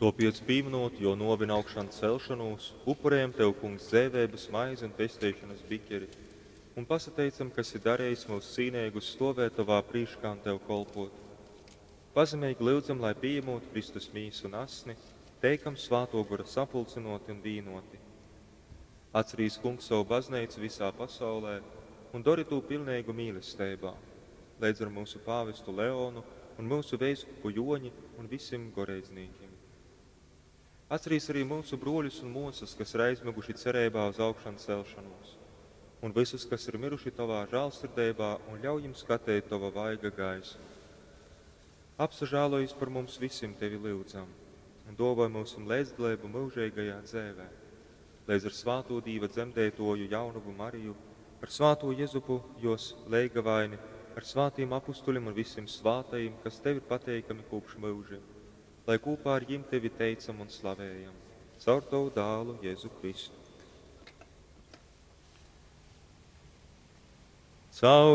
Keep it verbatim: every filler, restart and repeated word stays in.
Tuopiec, pīmynūt Juo nuovi un augšancelšonūs, upurejam Tev, Kungs, dzeiveibys maizi un pesteišonys bikeri, un pasateicam, ka esi darejis myus cīneigus stuovēt Tovā prīškā un Tev kolpuot. Pazemeigi lyudzam, lai pījamūt Kristus mīsu un asni, teikam Svātuo Gora sapulcynuoti un vīnuoti. Atcerīs, Kungs, sovu bazneicu visā pasaulē un dori tū pilneigu mīlesteibā, leidz ar myusu pāvestu Leonu un myusu veiskupu Juoņi un visim goreidznīkim. Atcerīs arī myusu bruoļus un muosys, kas ir aizmyguši cereibā uz augšancelšonūs, un vysus, kas ir myruši Tovā žālsirdeibā, un ļauj jim skateit Tova vaiga gaismu. Apsažālojis par mums visim Tevi lyudzam, un duovoj myusim leidzdaleibu myužeigajā dzeivē, leidz ar svātū Dīva dzemdeituoju jaunovu Mariju, ar svātū Jezupu, juos leigavaini, ar svātīm apustuļim un visim svātajim, kas Tev ir pateikami kopš myužim, lai kopā ar jim Tevi teicam un slavējam, caur Tavu dālu Jēzu Kristu. Caur